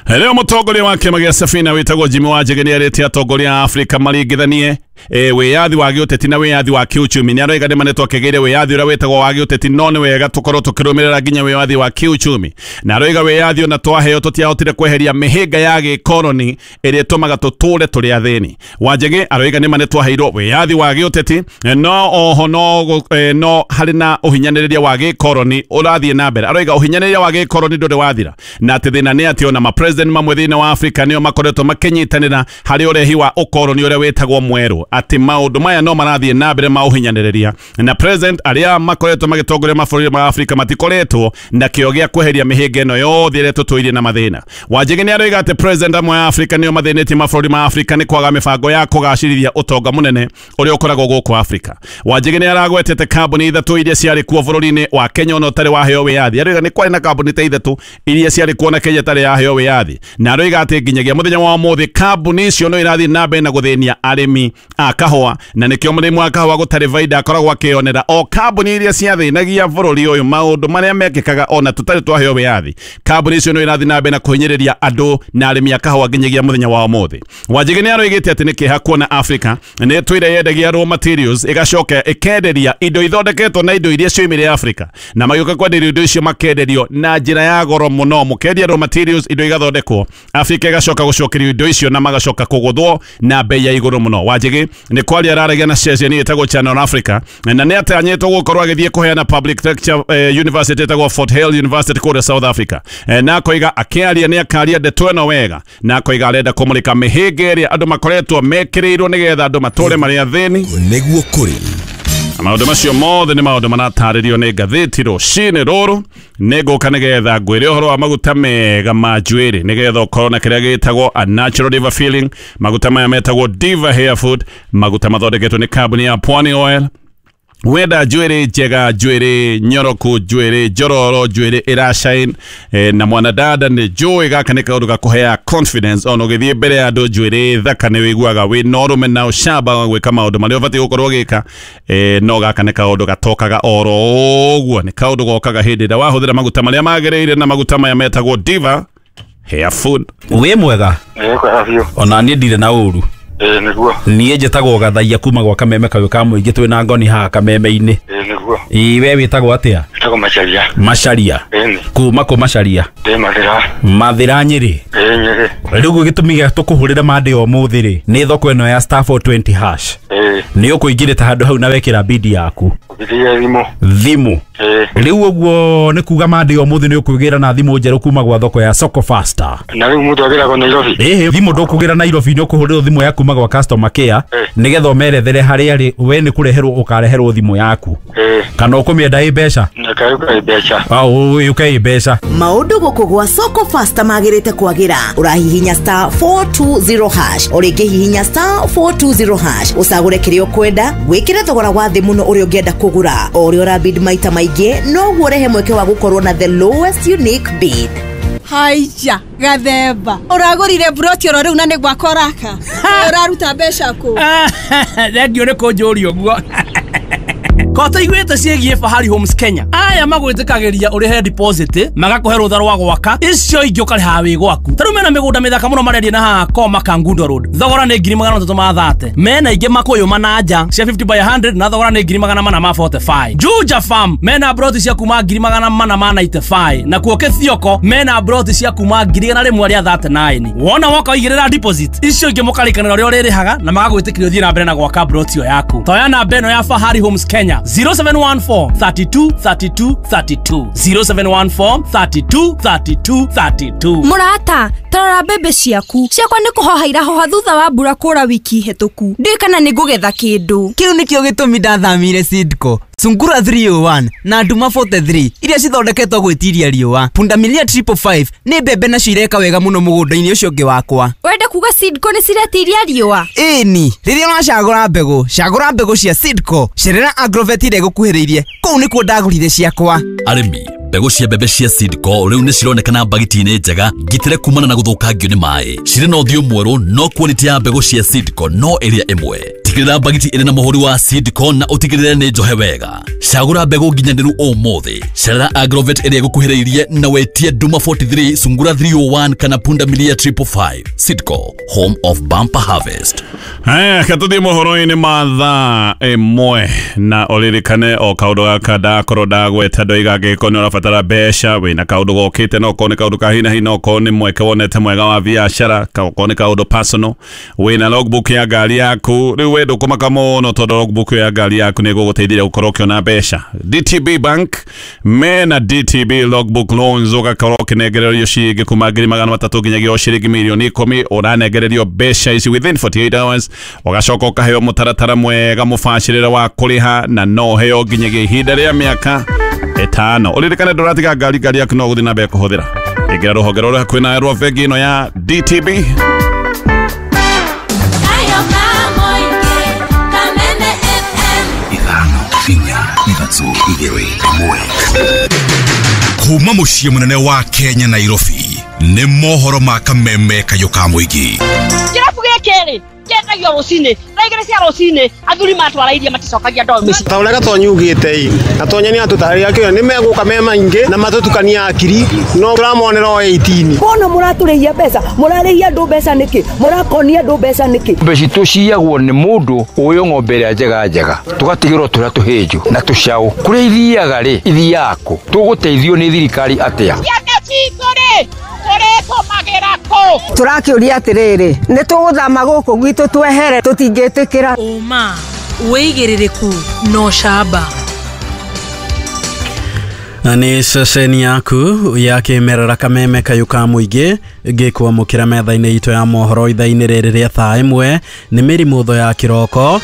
Leo mũtongoria wa kĩama gĩa Safina wĩtagwo Jimmy Wanjigi nĩarĩtie atongoria a Afrika maringithanie e, wĩyathi wa gĩũteti na wĩyathi wa kĩuchumi. Nĩaroiga nĩ manetwo akĩgĩire wĩyathi ũrĩa wĩtagwo wa gĩũteti, no nĩ wega tũkorwo tũkĩrũmĩrĩra nginya wĩyathi wa kĩuchumi. Na aroiga wĩyathi ona twaheo tũtiahotire kweheria mĩhĩnga ya gĩkoroni ĩrĩa ĩtũmaga tũtũre tũrĩ athĩni. Wanjigi aroiga nĩ manetwo aheirwo wĩyathi wa gĩũteti, no oho no, e, no harĩ na ũhinyanĩrĩria wa gĩkoroni ũrathiĩ na mbere. Aroiga ũhinyanĩrĩria wa gĩkoroni ndũrĩ wathira, na atĩ thĩna nĩ atĩ ona ma president mamwe thĩinĩ wa Afrika nĩo makoretwo makĩnyitanĩra harĩ ũrehi wa ũkoroni ũrĩa wĩtagwo mwerũ, atĩ maũndũ maya no marathiĩ na mbere ma ũhinyanĩrĩria, na president arĩa makoretwo magĩtongoria mabũrũri ma Afrika matikoretwo na kĩo gĩa kweheria mĩhĩnga ĩno yothe ĩrĩa tũtũirie na mathĩna. Wanjigi nĩ aroiga atĩ president amwe a Afrika nĩo mathĩnĩtie mabũrũri ma Afrika nĩ kwaga mĩbango ya kũgacĩrithia ũtonga mũnene ũrĩa ũkoragwo gũkũ Afrika. Wanjigi nĩ aragwetete kambuni ithatũ iria ciarĩ kuo bũrũri-inĩ wa Kenya ona ũtarĩ waheo wĩyathi. Aroiga nĩ kwarĩ na kambuni ta ithatũ iria ciarĩ kuo na Kenya ĩtarĩ yaheo wĩyathi, na aroiga atĩ nginyagia mũthenya wa ũmũthĩ kambuni icio no irathiĩ na mbere na gũthĩnia arĩmi a kahũa, na nĩkĩo mũrĩmi wa kahũa gũtarĩ baida akoragwo akĩonera o kambuni iria ciathĩnagia bũrũri ũyũ maũndũ marĩa mekĩkaga ona tũtarĩ twaheo wĩyathi. Kambuni icio no irathiĩ na mbere na kũhinyĩrĩria andũ na arĩmi a kahũa nginyagia mũthenya wa ũmũthĩ. Wanjigi nĩ aroigĩte atĩ nĩ kĩeha kuona Afrika nĩ ĩtũire yendagia raw materials ĩgacoka ĩkenderia indo ithondeketwo na indo iria cioimire Afrika, na magĩũka kwenderio indo icio makenderio na njĩra ya goro mũno. Mũkendia raw materials indo igathondekwo Afrika ĩgacoka gũcokerio indo icio na magacoka kũgũthwo na bei ya igũrũ mũno. Wanjigi nĩ kwaria araragia na ceceni ĩtagwo Channel Africa, na nĩ atanyĩtwo gũkorwo agĩthiĩ kũheana public lecture eh, university ĩtagwo Fort Hare University kũrĩa South Africa. eh, na akoiga akĩaria nĩ akaria ndeto ĩno wega, na akoiga arenda kũmũrĩka mĩhĩnga ĩrĩa andũ makoretwo mekĩrĩirwo nĩgetha andũ matũre marĩ athĩni. Nĩguo kũrĩ maũndũ macio mothe nĩ maũndũ maratarĩrio nĩ ngathĩti rũcinĩ rũrũ. Nĩ ngũka nĩgetha ngwĩre ũhoro wa maguta mega ma njuĩrĩ nĩgetha ũkorwo na kĩrĩa gĩtagwo a natural diva feeling. Maguta maya metagwo Diva Hair Food, maguta mathondeketwo nĩ kambuni ya Pwani Oil. Wenda njuĩrĩ njega, njuĩrĩ nyoroku, njuĩrĩ njororo, njuĩrĩ ĩrashine e, na mwanadada nĩ njũĩ gaka nĩ kaũndũ gakũheaga confidence ona ũgĩthiĩ mbere ya andũ. Njuĩrĩ thaka nĩ wĩiguaga wĩ na ũrũme na ũcamba wa gwĩka maũndũ marĩa ũbatiĩ gũkorwo ũgĩka e, no gaka nĩ kaũndũ gatokaga oro ũguo, nĩ kaũndũ gokaga hĩndĩ ĩrĩa wahũthĩra maguta marĩa magĩrĩire, na maguta maya metagwo Diva Hair Food. Wĩ mwega? Ona niĩ ndirĩ na ũru. Ĩĩ nĩguo. Niĩ njĩtagwo Gathaia kuma gwa Kameme kayũ ka mũingĩ, twĩ na ngoni haha Kameme-inĩ. Ĩĩ nĩguo. Ĩĩ we wĩtagwo atĩa? Njĩtagwo Macharia. Macharia. Ĩĩ. Kuma kũ Macharia? Ndĩ Mathĩra. Mathĩra Nyĩrĩ. Ĩĩ Nyĩrĩ. Rĩu gĩtũmi gĩa tũkũhũrĩra mandĩ o mũthĩ rĩ, nĩ thoko ĩno ya star four twenty hash. Ĩĩ. Nĩ ũkũingĩrĩte handũ hau na wekĩra bidi yaku. Bidi thimũ. Thimũ. Ĩĩ. Rĩu ũguo nĩ kuga mandĩ o mũthĩ nĩ ũkwĩgĩra na thimũ njerũ kuma gwa thoko ya Soko Faster. Na rĩu mũndũ agĩragwo Nairobi? Ĩĩ, thimũ ndũkũgĩra Nairobi, nĩ ũkũhũrĩrwo thimũ yaku kuma gwa customer care nĩgetha ũmerethere harĩa rĩ we nĩ kũreherwo ũkareherwo thimũ yaku. Kana ũkũmĩenda ĩ mbeca? Nĩkaũka ĩ mbeca. Au ũke ĩ mbeca. Maũndũ gũkũ gwa Soko Faster magĩrĩte kwagĩra. Ũrahihinya star four two zero hash, o rĩngĩ hihinya star four two zero hash, ũcagũre kĩrĩa ũkwenda, wĩkĩre thogora wa thĩ mũno ũrĩa ũngĩenda kũgũra. O ũrĩa ũrabid maita maingĩ noguo ũrehe mweke wa gũkorwo na the lowest unique bid. Haija gathemba ũragũrire broti oro rĩu na nĩ gwakwa ũraka ũraruta mbeca kũ? Thengiũ nĩ kũnjũria ũguo. Kota iguĩte ciĩgiĩ Fahari Homes Kenya. Aya magwĩtĩkagĩria ũrĩhe deposit, magakũhe rũtha rwa gwaka, icio ingĩ ũkarĩha wĩ gwaku. Ta rĩu mena mĩgũnda mĩthaka mũno marendia na haha Koma Kangundo Road. Thogora nĩ ngiri magana matatũ ma thate. Mena ingĩ Makũyũ Mananja cia fifty by hundred na thogora nĩ ngiri magana mana ma forty-five. Juja Farm mena broti cia kuma ngiri magana mana ma ninety-five. Na kuo Kĩthioko mena broti cia kuma ngiri igana rĩmwe rĩa thirty-nine. Wona woka ũigĩrĩra deposit, icio ingĩ mũkarĩkanĩra ũrĩa ũrĩrĩhaga na magagwĩtĩkĩria ũthiĩ na mbere na gwaka broti ĩyo yaku. Toya namba ĩno ya Fahari Homes Kenya zero seven one four thirty-two thirty-two thirty-two zero seven one four thirty-two thirty-two thirty-two. Mũrata, tarora mbembe ciaku. Ciakwa nĩ kũhoha irahoha thutha wa mbura kũra wiki hĩtũku. Ndiũĩ kana nĩ ngũgetha kĩndũ. Kĩu nĩkĩo gĩtũmi ndathamire Seedco. Sungura three oh one na Nduma forty-three iria cithondeketwo gwĩtiria riũa. Pundamilia triple five nĩ mbembe nacio ireka wega mũno mũgũnda-inĩ ũcio ũngĩ wakwa. Wenda kuga Seedco nĩ ciretiria riũa? Ĩni, rĩrĩa ũracagũra mbegũ, cagũra mbegũ cia Seedco. Cerera Agrovet ĩrĩa ĩgũkuhĩrĩirie, kũu nĩkuo ndagũrire ciakwa. Arĩmi, mbegũ cia mbembe cia Seedco rĩu nĩ cironekana mbagiti-inĩ njega ngitĩre kumana na gũthũkangio nĩ maĩ. Cirĩ na ũthiũ mwerũ no quality ya mbegũ cia Seedco no ĩrĩa ĩmwe. Tigĩrĩra mbagiti ĩrĩ na mũhũri wa Seedco na ũtigĩrĩre nĩ njohe wega. Cagũra mbegũ nginyanĩru ũmũthĩ. Cerera Agrovet ĩrĩa ĩgũkuhĩrĩirie na wetie Nduma forty-three, Sungura three oh one kana Pundamilia triple five. Seedco, home of bumper harvest. Haya, katũthiĩ mohoro-inĩ ma thaa ĩmwe na ũririkane o kaũndũ gaka ndakorwo ndagweta ndoiga angĩkorwo nĩ ũrabatara mbeca, wĩna kaũndũ gokĩte, no okorwo nĩ kaũndũ ka hi na hi, no okorwo nĩ mweke wonete mwega wa biacara, okorwo nĩ kaũndũ personal, wĩna logbook ya ngari yaku, rĩu we ndũkũmaka mũno tondũ logbook ya ngari yaku nĩ ĩgũgũteithia gũkorwo ũkĩona mbeca. D T B Bank mena D T B logbook loans, ũgakorwo ũkĩnengererio ciringi kuma ngiri magana matatũ nginyagia o ciringi mirioni ikũmi, ũranengererio mbeca ici within forty-eight hours, ũgacoka ũkaheo mũtaratara mwega mũbacĩrĩre wa kũrĩha na no ũheo nginyagia ihinda rĩa mĩaka ĩtano. Ũririkane ndũratiga ngari, ngari yaku no ũgũthiĩ na mbere kũhũthĩra. Ingĩra rũhonge rũrĩa hakuhĩ nawe rwa bengi ĩno ya D T B. Kuma mũciĩ mũnene wa Kenya Nairobi nĩ mohoro ma Kameme kayũ ka mũingĩ. Kĩrabu gĩkĩ rĩ kĩendagio rũcinĩ thaa igĩrĩ cia rũcinĩ athuri matwara iria maticokagia ndoo mĩciĩ. Ta ũrĩa Gatonyi ugĩte ĩ, Gatonyi nĩ atũtarĩria kĩo nĩ megũka me maingĩ na matũtukania akiri no tũramonera o eighteen. Mbona mũratũrĩhia mbeca, mũrarĩhia andũ mbeca nĩkĩ, mũrakonia andũ mbeca nĩkĩ? Mbeca itũ ciyagwo nĩ mũndũ ũyũ ng'ombe ĩrĩa njega njega tũgatigĩrwo tũrĩa tũhĩnju na tũcaũ. Kũrĩa ithiaga rĩ ithiaga kũ? Tũgũteithio nĩ thirikari atĩa? Ciana citũ rĩ tũrĩtũmagĩra kũ? Tũrakĩũria atĩrĩrĩ, nĩ tũgũthama gũkũ gwitũ twehere, tũtingĩtĩkĩra. Ũma, wĩigĩrĩrĩku na ũcamba. Na nĩ ceceni yaku ya kĩmerera Kameme kayũ ka mũingĩ ngĩkwamũkĩra metha-inĩ itũ ya mohoro ithaa-inĩ rĩrĩ rĩa thaa ĩmwe. Nĩ mĩrimũtho ya kĩroko,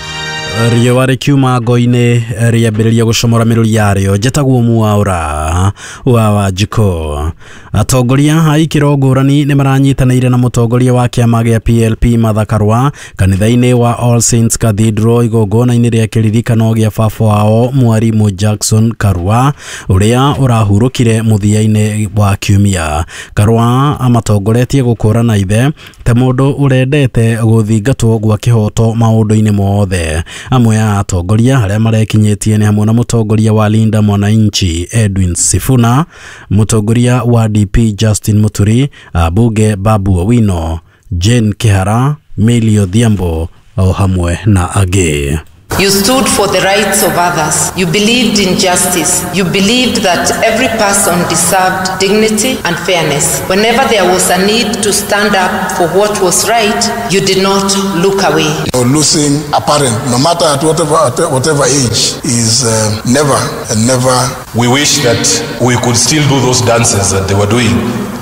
riũa rĩkiuma ngo-inĩ rĩambĩrĩria gũcomora mĩrũri yarĩo. Njĩtagwo Mwaũra wa Wanjikũ. Atongoria a ikĩro ngũrani nĩ maranyitanĩire na mũtongoria wa kĩama gĩa P L P Martha Karua kanitha-inĩ wa All Saints Cathedral igongona-inĩ rĩa kĩririkano gĩa baba wao Mwarimu Jackson Karua ũrĩa ũrahurũkire mũthia-inĩ wa kiumia. Karua amatongoretie gũkũrana ithe ta mũndũ ũrendete gũthingatwo gwa kĩhoto maũndũ-inĩ mothe. Amwe a atongoria arĩa marekinyĩtie nĩ hamwe na mũtongoria wa Linda Mwananchi Edwin Sifuna, mũtongoria wa D P Justin Muturi, abunge Babu Owino, Jane Kihara, Millie Odhiambo o hamwe na angĩ. You stood for the rights of others. You believed in justice. You believed that every person deserved dignity and fairness. Whenever there was a need to stand up for what was right, you did not look away. Losing a parent, no matter at whatever, at whatever age, is uh, never and never. We wish that we could still do those dances that they were doing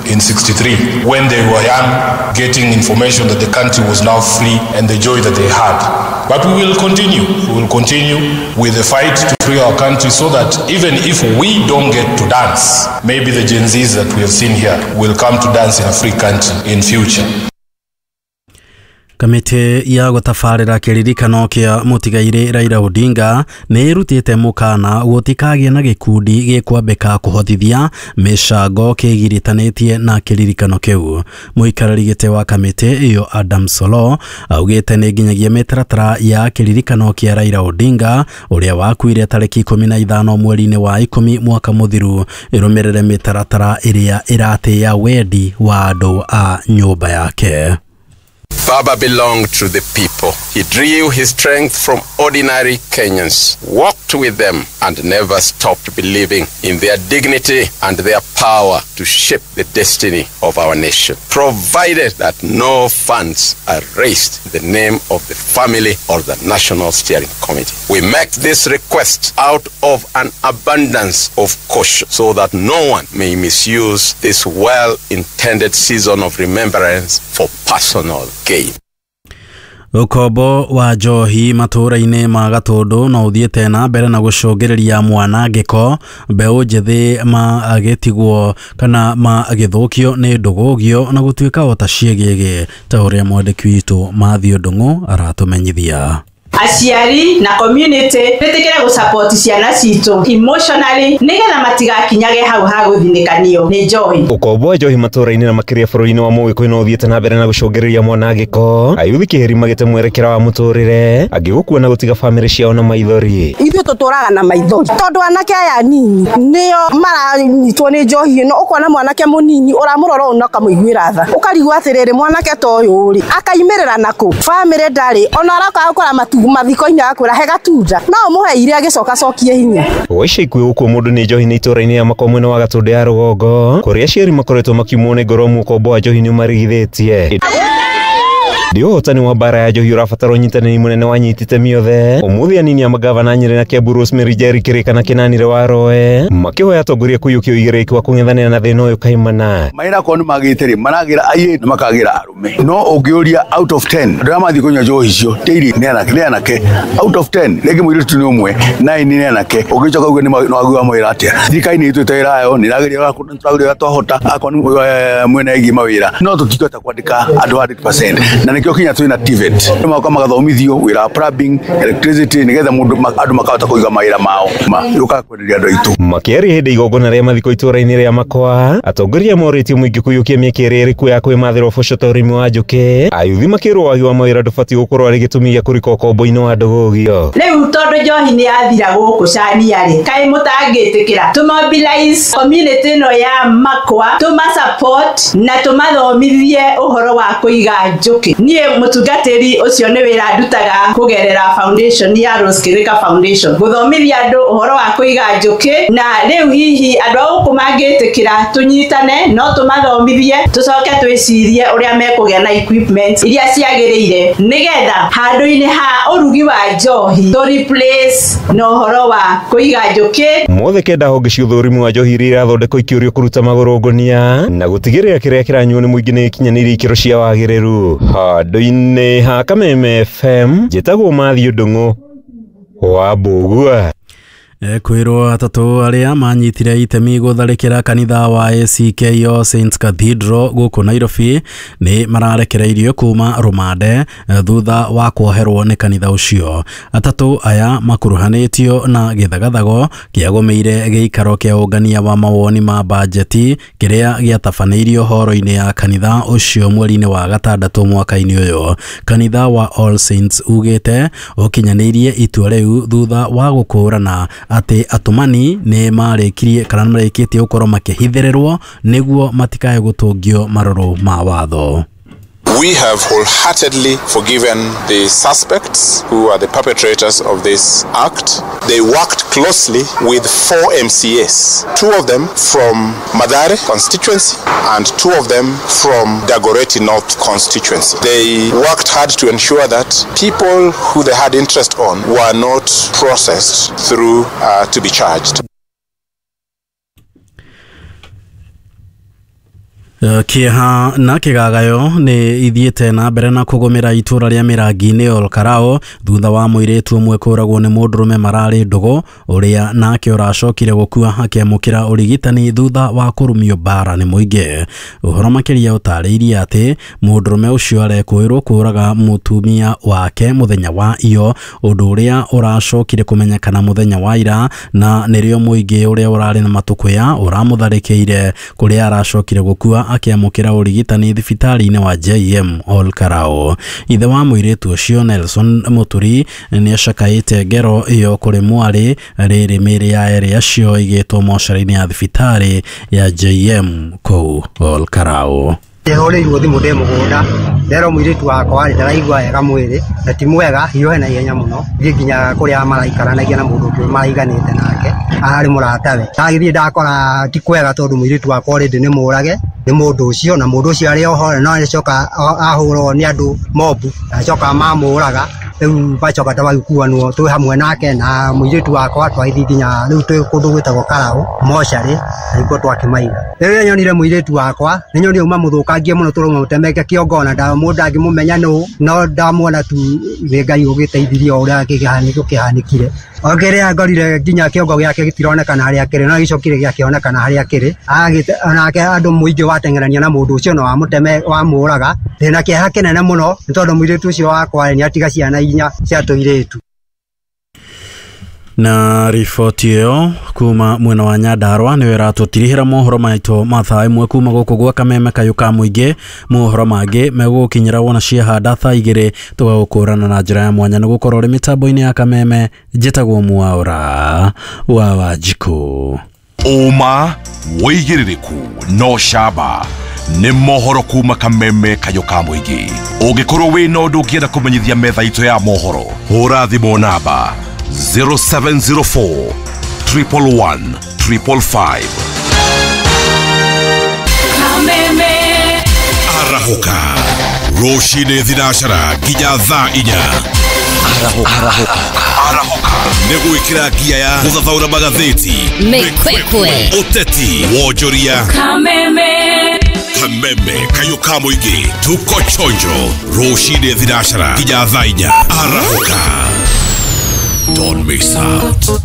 in sixty-three, when they were young, getting information that the country was now free and the joy that they had. But we will continue. We will continue with the fight to free our country so that even if we don't get to dance, maybe the Gen Zs that we have seen here will come to dance in a free country in future. Kamĩtĩ ya gũtabarĩra kĩririkano kĩa mũtigairĩ Raila Odinga nĩ ĩrutĩte mũkana gũtikagĩe na gĩkundi gĩkwambĩka kũhothithia mĩcango kĩgiritanĩtie na kĩririkano kĩu. Mũikarĩri gĩtĩ wa kamĩtĩ ĩyo Adam Solo augĩte nĩ nginyagia mĩtaratara ya kĩririkano kĩa Raila Odinga ũrĩa wakuire tarĩki ikũmi na ithano mweri-inĩ wa ikũmi mwaka mũthiru ĩrũmĩrĩre mĩtaratara ĩrĩa ĩratĩĩa wendi wa andũ a nyũmba yake. Baba belonged to the people. He drew his strength from ordinary Kenyans, walked with them, and never stopped believing in their dignity and their power to shape the destiny of our nation, provided that no funds are raised in the name of the family or the National Steering Committee. We make this request out of an abundance of caution so that no one may misuse this well-intended season of remembrance for personal gain. Ũkombo wa njohi matũũra-inĩ ma Gatũndũ no ũthiĩte na mbere na gũcũngĩrĩria mwanangĩko, mbeũ njĩthĩ magĩtigwo kana magĩthũkio nĩ ndũgũgio na gũtuĩka o ta ciĩgĩgĩ, ta ũrĩa mwandĩki witũ Matthew Ndung'u aratũmenyithia. Aciari na community ritikire gusupport ciana citu emotionally nigetha matigakinyage hau ha guthinĩkanio nĩ njohi. Ũkombo wa njohi matũũra-inĩ na makĩria bũrũri-inĩ wa Mũgĩkũyũ no ũthiĩte na mbere na gũcũngĩrĩria mwanangĩko, ayuthi kĩheri magĩte mwerekera wa mũtũrĩre, angĩ gũkua na gũtiga bamĩrĩ ciao na maithori. Ithuĩ tũtũraga na maithori tondũ anake aya nini nĩo maranyitwo nĩ njohi ĩno. Ũkona mwanake mũnini ũramũrora ũũ na ũkamũiguĩra tha, ũkarigwo atĩrĩrĩ, mwanake ta ũyũ rĩ akaimĩrĩra nakũ? Bamĩrĩ ndarĩ ona aroka gũkora matu mathiko-inĩ agakwĩra he gatunda no ũmũheire agĩcoka acokie hinya. Gwa ica ikuhĩ gũkua mũndũ nĩ njohi nĩ itũũra-inĩ ya Makwa mwena wa Gatũndũ ya rũgongo, kũrĩa aciari makoretwo makiumwo nĩ ngoro mũkombo wa njohi nĩ ũmarigithĩtie. Ndi ũhotani wa mbara ya njohi ũrabatara ũnyitanĩri mũnene wa nyitite mĩothe. Ũmũthĩ anini a magavana Nyĩrĩ na Kiambu Rosemary Njeri Kĩrĩka na Kĩnanire Waroe makĩhoya atongoria kũiyũkia ũigĩrĩrĩki wa kũng'ethanĩra na thĩna ũyũ kaimana. Mawĩra akorwo nĩ magĩte rĩ, maragĩra airĩtu na makagĩra arũme, no ũngĩũria out of ten andũ arĩa mathiĩ kũnyua njohi icio daily nĩ anake, nĩ anake out of ten rĩngĩ mũirĩtu nĩ ũmwe nine nĩ anake. Ũngĩcoka uge nĩ wagua mawĩra atĩa? Thirikari nĩ ĩtuĩte wĩra wayo, nĩ ĩrageria tũrageria ũrĩa twahota akorwo nĩ mwena ĩgiĩ mawĩra, no tũtingĩhota kwandĩka andũ hundred percent na nĩkĩo kinya twĩna T V E T magoka magathomithio wĩra wa plumbing, electricity nĩgetha mũndũ andũ makahota kũiga mawĩra mao yũkaga kwenderia andũ aitũ. Makĩaria hĩndĩ igongona rĩa mathiko itũũra-inĩ rĩa Makwa, atongoria morĩtie mũingĩ kũiyũkia mĩeke ĩrĩa ĩrĩ kuo ya kwĩmathĩra ũboco ta ũrĩmi wa njũkĩ. Ayuthi makĩrwo wagi wa mawĩra ndũbatiĩ gũkorwo arĩ gĩtũmi gĩa kũrika ũkombo-inĩ wa ndũgũgio. Rĩu tondũ njohi nĩ yathira gũkũ Cania rĩ, kaĩ mũtangĩtĩkĩra tũmobilize community ĩno ya Makwa, tũma support na tũmathomithie ũhoro wa kũiga njũkĩ. Niĩ mũtungatĩri ũcio nĩ wĩra ndutaga kũgerera foundation ya Rose Kirika Foundation, gũthomithia andũ ũhoro wa kũiga njũkĩ, na rĩu hihi andũ a gũkũ mangĩtĩkĩra tũnyitane no tũmathomithie, tũcoke twĩcirie ũrĩa mekũgĩa na equipment iria ciagĩrĩire nĩgetha handũ-inĩ ha ũrugi wa njohi tũ replace na ũhoro wa kũiga njũkĩ. Mothe kenda honge cia ũthũrimi wa njohi iria irathondekwo ikĩũrio kũruta magũrũ ngũnia na gũtigĩrĩra kĩrĩa kĩranyuo nĩ mũingĩ nĩ gĩkinyanĩirie ikĩro cia wagĩrĩru. Handũ-inĩ ha Kameme F M, njĩtagwo Matthew Ndung'u wa Mbũgua. Kwĩrwo atatũ arĩa manyitire itemi gũtharĩkĩra kanitha wa A C K All Saints Cathedral gũkũ Nairobi nĩ mararekereirio kuma rũmande thutha wa kuoherwo nĩ kanitha ũcio. Atatũ aya makuruhanĩtio na gĩthagathago kĩagũmĩire gĩikaro kĩa ũngania wa mawoni ma bajeti kĩrĩa gĩatabanĩirio horo-inĩ ya kanitha ũcio mweri-inĩ wa gatandatũ mwaka-inĩ ũyũ. Kanitha wa All Saints ugĩte ũkinyanĩirie itua rĩu thutha wa gũkũrana atĩ atũmani nĩ marĩkirie kana marĩkĩtie gũkorwo makĩhithĩrĩrwo nĩguo matikae gũtũngio marũrũ ma watho. We have wholeheartedly forgiven the suspects who are the perpetrators of this act. They worked closely with four M C As, two of them from Mathare constituency and two of them from Dagoretti North constituency. They worked hard to ensure that people who they had interest on were not processed through uh, to be charged. Kieha na kigagayo ni ithiete na mbere na kugumira itura ria Mirangi-ini Ol Kalou thutha wa muiritu umwe kuragwo ni mundurume marari ndugu uria nake uracokire gukua akiamukira urigitani thutha wa kurumio mbara ni muingi. Uhoro makiria utariirie ati mundurume ucio arekwirwo kuraga mutumia wake muthenya wa iyo undu uria uracokire kumenyekana muthenya wa ira na nirio muingi uria urari na matukuya uramutharikire kuria aracokire gukua akiamukira urigitani thibitari-inĩ wa J M Ol Kalou. Ithe wa mũirĩtu ũcio Nelson Muturi nĩ acakaĩte ngero ĩyo kũrĩ mwarĩ rĩrĩ mĩĩrĩ ya erĩ acio ĩigĩtwo mocarĩ-inĩ ya thibitarĩ ya J M kũu Ol Kalou. Ndĩhũrĩirwo thimũ ndĩ mũgũnda nderwo mũirĩtu wakwa rĩ ndaraigua wega mwĩrĩ na ti mwega hiũhe na ihenya mũno thiĩ nginya kũrĩa maraikaranagia na mũndũ ũngĩ maraiganĩte nake ararĩ mũratawe. Ndagĩthiĩ ndakora ti kwega tondũ mũirĩtu wakwa already nĩ mũrage nĩ mũndũ ũcio na mũndũ ũcio arĩ oho no acoka ahũrwo nĩ andũ mobu na acoka mamũraga rĩu bacoka twagĩkuanwo twĩ hamwe nake na mũirĩtu wakwa twagĩthiĩ nginya rĩu twĩ kũndũ gwĩtagwo Karau mocarĩ na nĩkuo twakĩmaiga. Rĩrĩa nyonire mũirĩtu wakwa nĩ nyonire uma mũthũkangie mũno tũrauma mũtemeke kĩongo na mũndũ angĩmũmenya nũ no ndamuona tu nĩ Ngai ũgĩteithirie o ũrĩa kĩhanĩko kĩhanĩkire. O kĩrĩa ngorire nginya kĩongo gĩake gĩtironekana harĩa kĩrĩ no gĩcokire gĩakĩonekana harĩa kĩrĩ onake andũ mũingĩ wateng'erania na mũndũ ũcio na wamũteme wamũraga. Ndĩna kĩeha kĩnene mũno nĩ tondũ mũirĩtu ũcio wakwa nĩ atiga ciana inya cia tũirĩtu. Na riboti ĩyo kuma mwena wa Nyandarua nĩyo ĩratũtirihĩra mohoro maitũ ma thaa ĩmwe kuma gũkũ gwa Kameme Kayũ ka Mũingĩ. Mohoro mangĩ megũgũkinyĩra wona ciahanda thaa igĩrĩ tũgagũkũrana na njĩra ya mwanya nĩ gũkorwo ũrĩ mĩtambo-inĩ ya Kameme. Njĩtagwo Mwaũra wa Wanjikũ. Ũma wĩigĩrĩrĩku no camba nĩ mohoro kuma Kameme Kayũ ka Mũingĩ. Ũngĩkorwo wĩna ũndũ ũngĩenda kũmenyithia metha itũ ya mohoro, hũra thimũ namba zero seven zero four triple one triple five. Kameme Arahũka rũcinĩ thinacara nginya thaa inya. Arahũka Arahũka nĩ gwĩkĩra ngia ya gũthathaũra magathĩti, mĩkwekwe, ũteti, wonjoria. Kameme Kameme Kayũ ka Mũingĩ tuko chonjo rũcinĩ thinacara nginya thaa inya. Arahũka. Don't miss out.